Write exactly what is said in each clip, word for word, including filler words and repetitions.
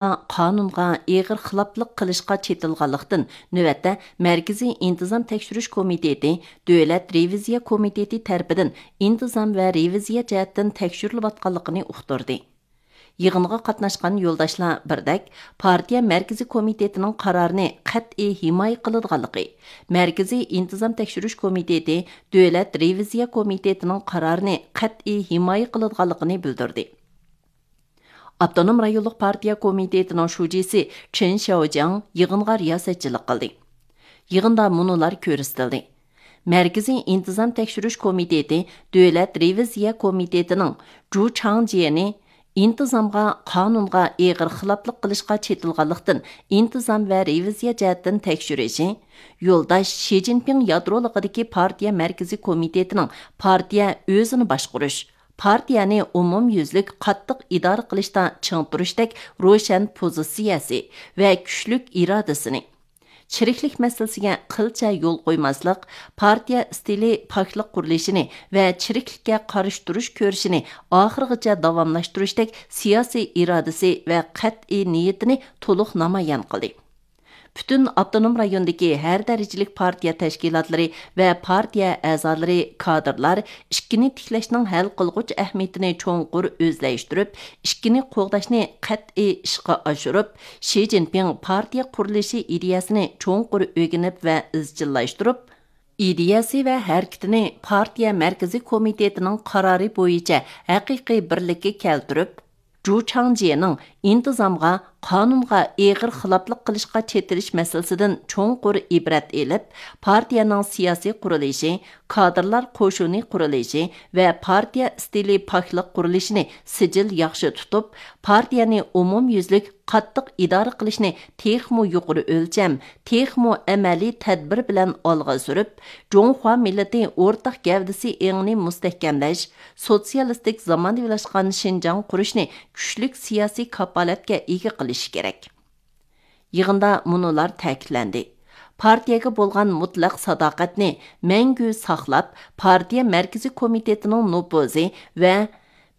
قانۇنغا ئېغىر خىلاپلىق قىلىشقا چېتىلغانلىقتىن، نۆۋەتتە مەركىزىي ئىنتىزام تەكشۈرۈش كومىتېتى دۆلەت رېۋىزىيە كومىتېتى تەرىپىدىن ئىنتىزام ۋە رېۋىزىيە جەھەتتىن تەكشۈرۈلۈۋاتقانلىقىنى ئۇقتۇردى. يىغىنغا قاتناشقان يولداشلار بىردەك پارتىيە مەركىزىي كومىتېتىنىڭ قارارىنى قەتئىي ھىمايە قىلىدىغانلىقى، مەركىزىي ئىنتىزام تەكشۈرۈش كومىتېتى دۆلەت رېۋىزىيە كومىتېتىنىڭ قارارىنى قەتئىي ھىمايە قىلىدىغانلىقىنى بىلدۈردى. ئاپتونوم رايونلۇق پارتىيە كومىتېتىنىڭ شۇجىسى چېن شياۋجياڭ يىغىنغا رىياسەتچىلىك قىلدى. يىغىندا مۇنۇلار كۆرسىتىلدى. مەركىزىي ئىنتىزام تەكشۈرۈش كومىتېتى دۆلەت رېۋىزىيە كومىتېتىنىڭ جۇ چاڭجيېنى ئىنتىزامغا، قانۇنغا ئېغىر خىلاپلىق قىلىشقا چېتىلغانلىقتىن، ئىنتىزام ۋە رېۋىزىيە جەھەتتىن تەكشۈرۈشى، يولداش شى جىنپىڭ يادرولۇقىدىكى پارتىيە مەركىزىي كومىتېتىنىڭ پارتىيە ئۆزىنى باشقۇرۇش، پارتىيەنى ئومۇميۈزلۈك قاتتىق ئىدارە قىلىشتا چىڭ تۇرۇشتەك روشەن پوزىتسىيەسى ۋە كۈچلۈك ئىرادىسىنى، چىرىكلىك مەسىلىسىگە قىلچە يول قويماسلىق، پارتىيە ئىستىلى پاكلىق قۇرۇلۇشىنى ۋە چىرىكلىككە قارشى تۇرۇش كۈرىشىنى ئاخىرغىچە داۋاملاشتۇرۇشتەك سىياسىي ئىرادىسى ۋە قەتئىي نىيىتىنى تولۇق نامايان قىلدى. پۈتۈن ئاپتونوم رايوندىكى ھەر دەرىجىلىك پارتىيە تەشكىلاتلىرى ۋە پارتىيە ئەزالىرى، كادىرلار ئىككىنى تىكلەشنىڭ ھەل قىلغۇچ ئەھمىيىتىنى چوڭقۇر ئۆزلەشتۈرۈپ، ئىككىنى قوغداشنى قەتئىي ئىشقا ئاشۇرۇپ، شى جىنپىڭ پارتىيە قۇرۇلۇشى ئىدىيەسىنى چوڭقۇر ئۆگىنىپ ۋە ئىزچىللاشتۇرۇپ، ئىدىيەسى ۋە ھەرىكىتىنى پارتىيە مەركىزىي كومىتېتىنىڭ قارارى بويىچە ھەقىقىي بىرلىككە كەلتۈرۈپ، جۇ چاڭجيېنىڭ ئىنتىزامغا، قانۇنغا ئېغىر خىلاپلىق قىلىشقا چېتىلىش مەسىلىسىدىن چوڭقۇر ئىبرەت ئېلىپ، پارتىيەنىڭ سىياسىي قۇرۇلۇشى، كادىرلار قوشۇنى قۇرۇلۇشى ۋە پارتىيە ئىستىلى پاكلىق قۇرۇلۇشىنى سىجىل ياخشى تۇتۇپ، پارتىيەنى ئومۇميۈزلۈك قاتتىق ئىدارە قىلىشنى تېخىمۇ يۇقىرى ئۆلچەم، تېخىمۇ ئەمەلىي تەدبىر بىلەن ئالغا سۈرۈپ، جۇڭخۇا مىللىتى ئورتاق گەۋدىسى ئېڭىنى مۇستەھكەملەش، سوتسىيالىستىك زامانىۋىلاشقان شىنجاڭ قۇرۇشنى كۈچلۈك سىياسىي كاپالەتكە ئىگە قىلىشى كېرەك. يىغىندا مۇنۇلار تەكىتلەندى: پارتىيەگە بولغان مۇتلەق ساداقەتنى مەڭگۈ ساقلاپ، پارتىيە مەركىزىي كومىتېتىنىڭ نوپۇزى ۋە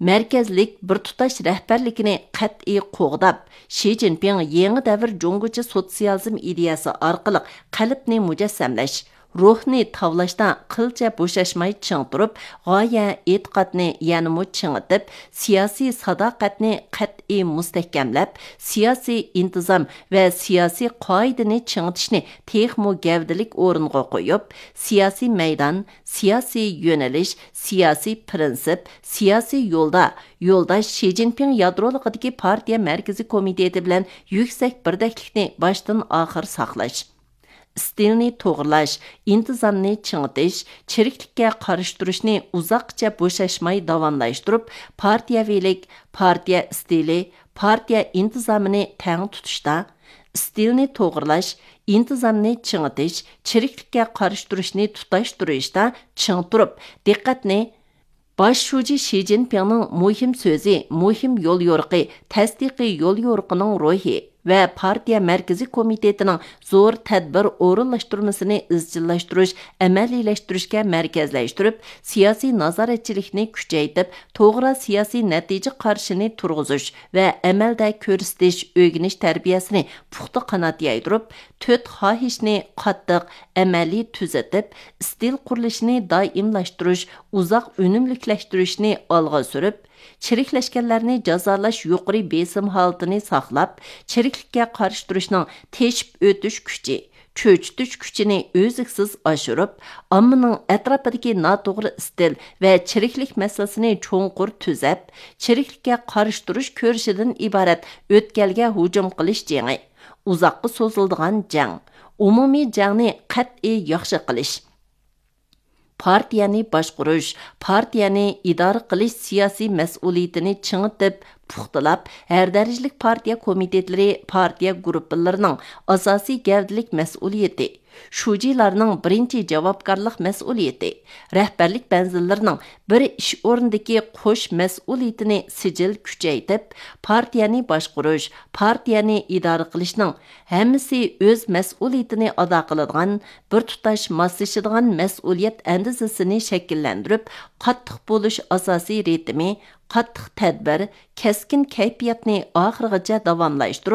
مەركەزلىك بىر تۇتاش رەھبەرلىكىنى قەتئىي قوغداپ، شى جىنپىڭ يېڭى دەۋر جۇڭگوچە سوتسىيالىزم ئىدىيەسى ئارقىلىق قەلبنى مۇجەسسەملەش، روھنى تاۋلاشتا قىلچە بوشاشماي چىڭ تۇرۇپ، غايە، ئېتىقادنى يەنىمۇ چىڭىتىپ، سىياسىي ساداقەتنى قەتئىي مۇستەھكەملەپ، سىياسىي ئىنتىزام ۋە سىياسىي قائىدىنى چىڭىتىشنى تېخىمۇ گەۋدىلىك ئورۇنغا قويۇپ، سىياسىي مەيدان، سىياسىي يۆنىلىش، سىياسىي پىرىنسىپ، سىياسىي يولدا يولداش شى جىنپىڭ يادرولۇقىدىكى پارتىيە مەركىزىي كومىتېتى بىلەن يۈكسەك بىردەكلىكنى باشتىن ئاخىر ساقلاش، ئىستىلنى توغرىلاش، ئىنتىزامنى چىڭىتىش، چىرىكلىككە قارشى تۇرۇشنى ئۇزاققىچە بوشاشماي داۋاملاشتۇرۇپ، پارتىيەۋىلىك، پارتىيە ئىستىلى، پارتىيە ئىنتىزامىنى تەڭ تۇتۇشتا، ئىستىلنى توغرىلاش، ئىنتىزامنى چىڭىتىش، چىرىكلىككە قارشى تۇرۇشنى تۇتاشتۇرۇشتا چىڭ تۇرۇپ، دىققەتنى باش شۇجى شى جىنپىڭنىڭ مۇھىم سۆزى، مۇھىم يوليورۇقى، تەستىقىي يوليورۇقىنىڭ روھى ۋە پارتىيە مەركىزىي كومىتېتىنىڭ زور تەدبىر ئورۇنلاشتۇرمىسىنى ئىزچىللاشتۇرۇش، ئەمەلىيلەشتۈرۈشكە مەركەزلەشتۈرۈپ، سىياسىي نازارەتچىلىكنى كۈچەيتىپ، توغرا سىياسىي نەتىجە قارىشىنى تۇرغۇزۇش ۋە ئەمەلدە كۆرسىتىش، ئۆگىنىش تەربىيەسىنى پۇختا قانات يايدۇرۇپ، تۆت خاھىشنى قاتتىق، ئەمەلىي تۈزىتىپ، ئىستىل قۇرۇلۇشىنى دائىملاشتۇرۇش، ئۇزاق ئۈنۈملۈكلەشتۈرۈشنى ئالغا سۈرۈپ، چىرىكلەشكەنلەرنى جازالاش يۇقىرى بېسىم ھالىتىنى ساقلاپ، چىرىكلىككە قارشى تۇرۇشنىڭ تېشىپ ئۆتۈش كۈچى، چۆچۈتۈش كۈچىنى ئۈزلۈكسىز ئاشۇرۇپ، ئاممىنىڭ ئەتراپىدىكى ناتوغرا ئىستىل ۋە چىرىكلىك مەسىلىسىنى چوڭقۇر تۈزەپ، چىرىكلىككە قارشى تۇرۇش كۈرىشىدىن ئىبارەت ئۆتكەلگە ھۇجۇم قىلىش جېڭى، ئۇزاققا سوزۇلىدىغان جەڭ، ئومۇمىي جەڭنى قەتئىي ياخشى قىلىش، پارتىيەنى باشقۇرۇش، پارتىيەنى ئىدارە قىلىش سىياسىي مەسئۇلىيىتىنى چىڭىتىپ، پۇختىلاپ، ھەر دەرىجىلىك پارتىيە كومىتېتلىرى، پارتىيە گۇرۇپپىلىرىنىڭ ئاساسىي گەۋدىلىك مەسئۇلىيىتى، شۇجىلارنىڭ بىرىنچى جاۋابكارلىق مەسئۇلىيىتى، رەھبەرلىك مەنزىللىرىنىڭ بىر ئىش ئورنىدىكى قوش مەسئۇلىيىتىنى سىجىل كۈچەيتىپ، پارتىيەنى باشقۇرۇش، پارتىيەنى ئىدارە قىلىشنىڭ ھەممىسى ئۆز مەسئۇلىيىتىنى ئادا قىلىدىغان بىر تۇتاش ماسلىشىدىغان مەسئۇلىيەت ئەندىزىسىنى شەكىللەندۈرۈپ، قاتتىق بولۇش ئاساسىي رىتىمى، قاتتىق تەدبىر، كەسكىن كەيپىياتنى ئاخىرغىچە داۋاملاشتۇرۇپ،